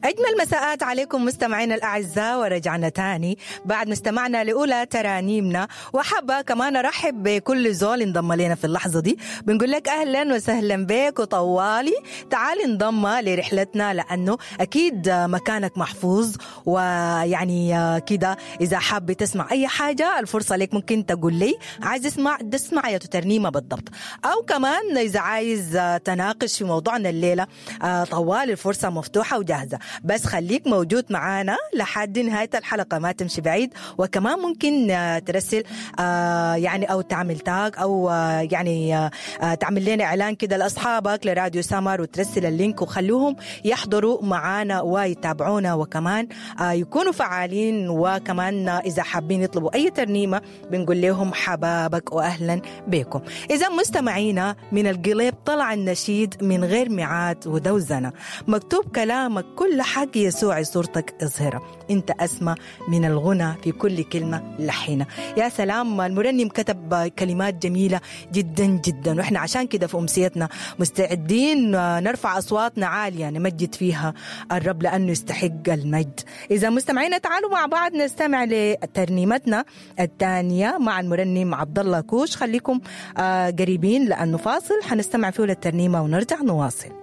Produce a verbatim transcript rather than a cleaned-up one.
أجمل مساءات عليكم مستمعينا الأعزاء، ورجعنا تاني بعد ما استمعنا لأولى ترانيمنا. وحابة كمان أرحب بكل زول انضم لنا في اللحظة دي، بنقول لك أهلا وسهلا بك وطوالي تعال انضم لرحلتنا، لأنه أكيد مكانك محفوظ. ويعني كده إذا حاب تسمع أي حاجة الفرصة لك، ممكن تقول لي عايز اسمع تسمع يا ترنيمة بالضبط، أو كمان إذا عايز تناقش في موضوعنا الليلة طوال الفرصة مفتوحة وجاهزة، بس خليك موجود معانا لحد نهاية الحلقة، ما تمشي بعيد. وكمان ممكن ترسل يعني أو تعمل tag أو يعني تعمل لنا إعلان كده لأصحابك لراديو سمر وترسل ال link وخلوهم يحضروا معانا ويتابعونا، وكمان يكونوا فعالين. وكمان إذا حابين يطلبوا أي ترنيمة بنقول لهم حبابك وأهلا بكم. إذا مستمعينا، من القليب طلع النشيد من غير ميعاد ودوزنة، مكتوب كلامك كل حق يسوع صورتك اظهرة، انت أسمى من الغنى في كل كلمة لحينة. يا سلام، المرنم كتب كلمات جميلة جدا جدا، وإحنا عشان كده في أمسيتنا مستعدين نرفع أصواتنا عالية نمجد فيها الرب لأنه يستحق المجد. إذا مستمعينا تعالوا مع بعض نستمع لترنيمتنا الثانية مع المرنم عبد الله كوش. خليكم قريبين لأنه فاصل حنستمع فيه للترنيمة ونرجع نواصل.